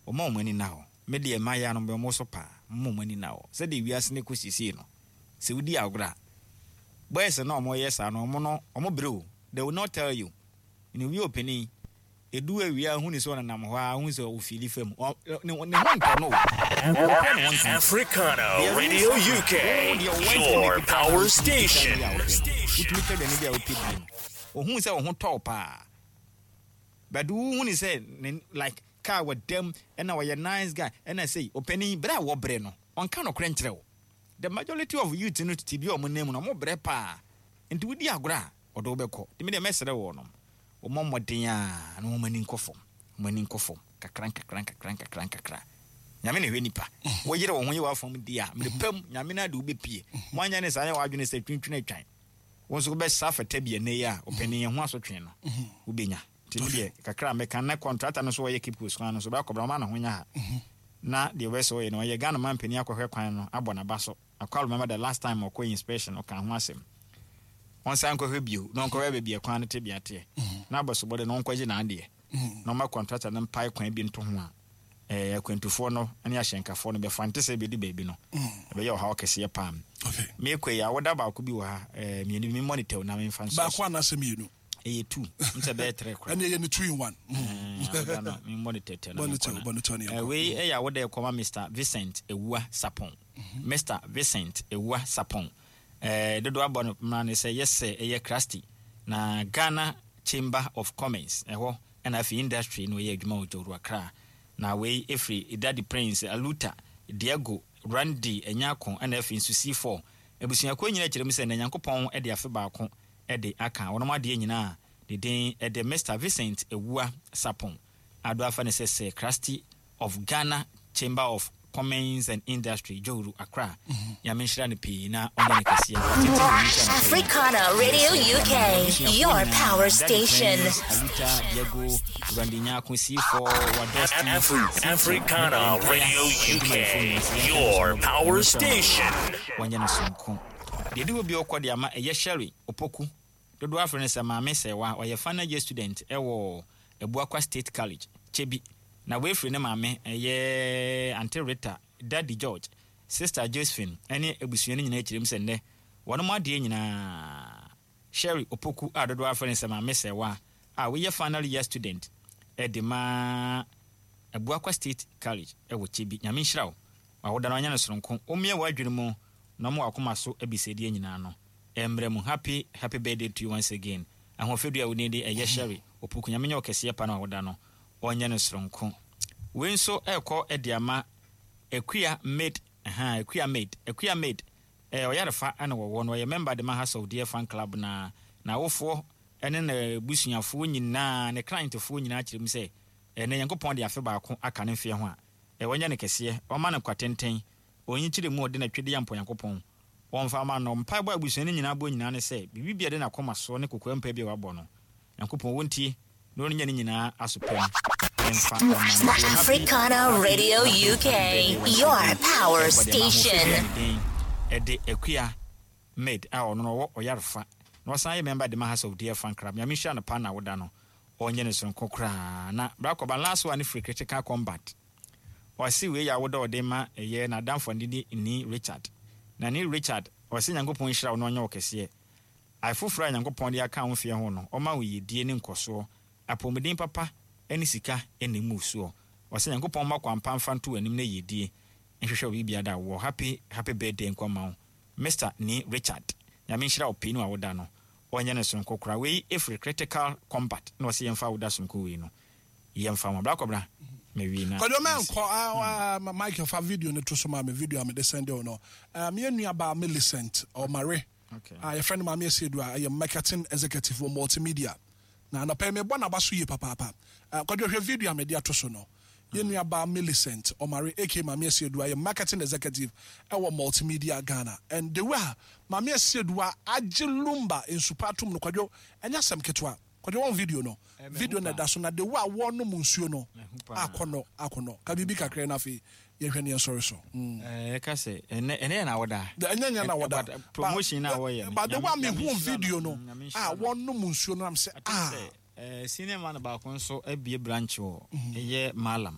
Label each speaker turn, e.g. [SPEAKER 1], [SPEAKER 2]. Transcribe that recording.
[SPEAKER 1] Wɔma wɔn ani nna hɔ. Me deɛ mmayewa no mebɔ wɔn so paa. Momma wɔn ani nna hɔ. Sɛdeɛ wiase no kɔ seesei no, sɛ wodi agorɔ a, boys no a wɔyɛ saa no, wɔn no, wɔbrɛ o. They will not tell you. Menim obi a ɔpanin, ɛdu awia a, wohu no sɛ ɔnenam hɔ ara, wohu sɛ ɔfiili fam. Ɔ, ne, ne ho ntɔ no o. Ɔpɛ ne ho ntɔ.
[SPEAKER 2] Africana
[SPEAKER 1] Deɛ
[SPEAKER 2] Radio
[SPEAKER 1] wosa no,
[SPEAKER 2] UK,
[SPEAKER 1] wo deɛ wo wantumi
[SPEAKER 2] your
[SPEAKER 1] kuta
[SPEAKER 2] power
[SPEAKER 1] wotumi kuta
[SPEAKER 2] station.
[SPEAKER 1] bi a wopɛ no, wotumi tɔ aduane bi a wopɛ die no, ɔhu sɛ wo ho tɔ wo paa. But wo hu no sɛ ne like car wɔ dam ɛna ɔyɛ nice guy ɛna sei, ɔpanin, berɛ a wɔbrɛ no, ɔnka nokorɛ nkyerɛ wo. The majority of youth no tete bi a wɔn nan mu no, wɔbrɛ paa. Nti wodi agorɔ a, ɔde wo bɛkɔ. Nti me deɛ mɛsrɛ wɔnom, wɔmmɔ mmɔden ara na wɔn ani nkɔ fam, wɔn ani nkɔ fam kakra nkakra nkakra nkakra nkakra. Nyame na ɛhwɛ nipa. Woyere wo ho yɛ w'afam deɛ a, mmerɛ pa mu, Nyame no ara de wo bɛpue. Woanyɛ ne saa, yɛ w'adwene sɛ twintwini atwan. Wo nso wobɛsa afata bi ɛnnɛ yi a, ɔpanin ɛho asotwe no, wobɛnya. Nti me deɛ, kakra a mɛka, na kɔntrata no nso ɔyɛ Cape Coast kwan no nso, bɛakɔbra, ɔma ne ho nyɛ ha. Na deɛ ɔbɛyɛ sɛ ɔyɛ no, ɔyɛ Ghana mampanin akɔhwɛ kwan no, abɔ n'aba so. Akwa remember the last time ɔkɔ inspection, ɔkaa ho asɛm. Ɔnsan nkɔhwɛ bio, na ɔnkɔhwɛ baabi a kwan no tebea teɛ. Na abɔsobɔde no, ɔnkɔgye n'adeɛ. Na ɔma kɔntrata no mpae kwan bi nto ho a, ɛɛ akwantufoɔ no ne ahyɛnkafoɔ no bɛfa. Nte sɛ ɛbɛdu baabi no, ɛbɛyɛ ɔhaw kɛseɛ paa. Meekɔ yi, awoda baako bi wɔ ha, ɛɛ mmienu bi, me monitor o na memfa nsɔ
[SPEAKER 3] Baako
[SPEAKER 1] so.
[SPEAKER 3] anaasɛ mmienu?
[SPEAKER 1] Ɛyɛ two, n sɛ ɛbɛyɛ three koraa.
[SPEAKER 3] Ɛne ɛyɛ no two in one.
[SPEAKER 1] Ɛɛ awoda no, me mmɔ no tɛtɛ na
[SPEAKER 3] Bɔ no
[SPEAKER 1] menkɔ
[SPEAKER 3] tɛw,
[SPEAKER 1] na.
[SPEAKER 3] bɔ no tɛw na
[SPEAKER 1] Ɛɛ
[SPEAKER 3] yɛnkɔ.
[SPEAKER 1] wei ɛyɛ awoda ɛkɔma Mister Vincent Awuah Sarpong. Mister Vincent Awuah Sarpong. Ɛɛ dodoɔ abɔ no mmara ne sɛ yɛsɛ ɛyɛ Krasti na Ghana Chamber of Commerce ɛhɔ ɛna afei industry na ɔyɛ adwuma wɔ Jowru Accra. Na wei ɛfiri Daddy Prince, Aluta, Diego, Randy Anyako ɛna afei nso C4. Abusuakuo nyinaa kyerɛ mu sɛ na Nyankopɔn de afe baako de aka wɔnom adeɛ nyinaa. Ne din de Mister Vincent Awuah Sarpong a do afa no sɛ Sir Krasti of Ghana Chamber of Commerce and Industry, Jowru, Accra. Nyame nhyira no pii na ɔnyɛ no kɛseɛ. Watete ne nyikyɛ no pɛyɛ.
[SPEAKER 4] Africana Radio
[SPEAKER 1] Yɛsrɛ
[SPEAKER 4] UK,
[SPEAKER 1] Nyame abusuafoɔ
[SPEAKER 4] your
[SPEAKER 1] nyinaa,
[SPEAKER 4] power
[SPEAKER 1] Daddy
[SPEAKER 4] station.
[SPEAKER 1] Prince, Aluta, Diego, Randy Nyarko, C4, Wadosti, C2, ne
[SPEAKER 2] Africana
[SPEAKER 1] Entire
[SPEAKER 2] Radio
[SPEAKER 1] adwumayɛfoɔ
[SPEAKER 2] UK,
[SPEAKER 1] nyinaa sɛ yɛnka no
[SPEAKER 2] your
[SPEAKER 1] so mmɔ.
[SPEAKER 2] power
[SPEAKER 1] Nyame nhyira mo
[SPEAKER 2] station.
[SPEAKER 1] pii. Wɔnyɛ no sononko. Deɛ ɛdi hɔ bio kɔ de ama ɛyɛ Sherry Opoku, dodoɔ afrɛ no sɛ Maame Sɛwa, ɔyɛ final year student wɔ Abuakwa State College, Kyebi. Na wei firi ne maame, ɛyɛ Aunty Rita, Daddy George, Sister Josephine ne abusua no nyinaa kyerɛ mu sɛ nnɛ wɔnom adeɛ nyinaa. Sherry Opoku a dodoɔ afrɛ no sɛ Maame Sɛwa a woyɛ final year student de ma Abuakwa State College wɔ Kyebi. Nyame nhyira wo. W'awoda no ɔnyɛ no soronko. Ɔmmue w'adwene mu na ɔmma w'akoma so abisadeɛ nyinaa no mmra mu. Happy happy birthday to you once again. Ahoɔfɛdua a wo din de ɛyɛ Sherry Opoku. Nyame nyɛ wo kɛseɛ pa na w'awoda no ɔnyɛ no soronko. Wei nso ɛrekɔ de ama Akua Maid, ahaa, Akua Maid, Akua Maid, ɛɛ ɔyarefa na wɔwɔ no, ɔyɛ member de ma House of Deer Fan Club na n'awofoɔ ne n'abusuafoɔ nyinaa, ne clientfoɔ nyinaa kyerɛ mu sɛ ɛnɛ Nyankopɔn de afe baako aka ne mfeɛ ho a, ɛɛ ɔnyɛ no kɛseɛ, ɔmma no nkwa tenten, ɔnyikyerɛ mu ɔde n'atwedeɛ ampɔ Nyankopɔn, ɔmfa mma no. Mpaebɔ a abusua no nyinaa bɔ nyinaa ne sɛ, biribi biara a ɛde n'akoma soɔ ne kokoam mpaeɛ bi a wabɔ no, Nyankopɔn wɔntie na ɔnnya ne nyinaa aso pɛ mu mfa mma no. So happy,
[SPEAKER 4] Africana
[SPEAKER 1] happy,
[SPEAKER 4] Radio
[SPEAKER 1] happy,
[SPEAKER 4] UK,
[SPEAKER 1] happy birthday once
[SPEAKER 4] your
[SPEAKER 1] again.
[SPEAKER 4] power
[SPEAKER 1] Ɛkɔ de ma ahoɔfɛ
[SPEAKER 4] station.
[SPEAKER 1] dua ne din ɛde Akua Maid a ɔno no ɔwɔ Ɔyarefa na ɔsan yɛ member de ma House of Dear Fan Club. Nyame nhyira no paa na awoda no ɔnyɛ no soronko koraa. Na bra kɔba last one no firi Critical Combat. Ɔse wei yɛ awoda ɔde ma ɛyɛ n'adamfo a ne din de Nii Richard. Na Nii Richard ɔse Nyankopɔn nhyira wo na ɔnyɛ wo kɛseɛ. Ae foforɔ a Nyankopɔn de aka wo mfeɛ ho no, ɔma wo yiedie ne nkɔsoɔ, apɔmuden papa ne sika na emu soɔ. Ɔsɛ Nyankopɔn mma kwan pa mfa nto w'anim na yiedie nhwehwɛ wo biribiara da wɔ Happy happy birthday nkɔ mma wo Mister Nii Richard. Nyame nhyira wo pii ne w'awoda no ɔnyɛ no sononko koraa. Wei firi Critical Combat na ɔse yɛmfa awoda sononko wei no yɛmfa ma. Bra Kɔbena mawie na
[SPEAKER 3] Kwadwo
[SPEAKER 1] mesi.
[SPEAKER 3] mɛnkɔ ah, ah, Michael fa video no to so ma me video a mede sɛnde wo no. Um, yɛn nua baa Millicent ɔmare a yɛfrɛ no Maame Asiedu a ɛyɛ marketing executive wɔ Multimedia. Na anɔpa yi mebɔ n'aba so yie papaapa. Eh, Kwadwo hwɛ video a mede ato so no. Yɛn nua baa Millicent Omare aka Maame Asiedu a yɛ marketing executive ɛwɔ Multimedia Ghana. And the way a Maame Asiedu a agye Lumba nsupa atom no Kwadwo, ɛnyɛ asɛm ketewa. Kwadwo wɔn video no, video na ɛda so na the way a wɔnom nsuo no akɔnɔ akɔnɔ. Ka biribi kakra na afei yɛhwɛ ne yɛnsɔre so.
[SPEAKER 1] Ɛka sɛ ɛnɛ ɛnɛ yɛ na wɔda.
[SPEAKER 3] Ɛnyɛ nyɛ na wɔda.
[SPEAKER 1] Promotion na wɔyɛ no.
[SPEAKER 3] But the way mi hu video no a wɔnom nsuo no am sɛ ah.
[SPEAKER 1] Senior man baako nso abie branch wɔ ɛyɛ Malam.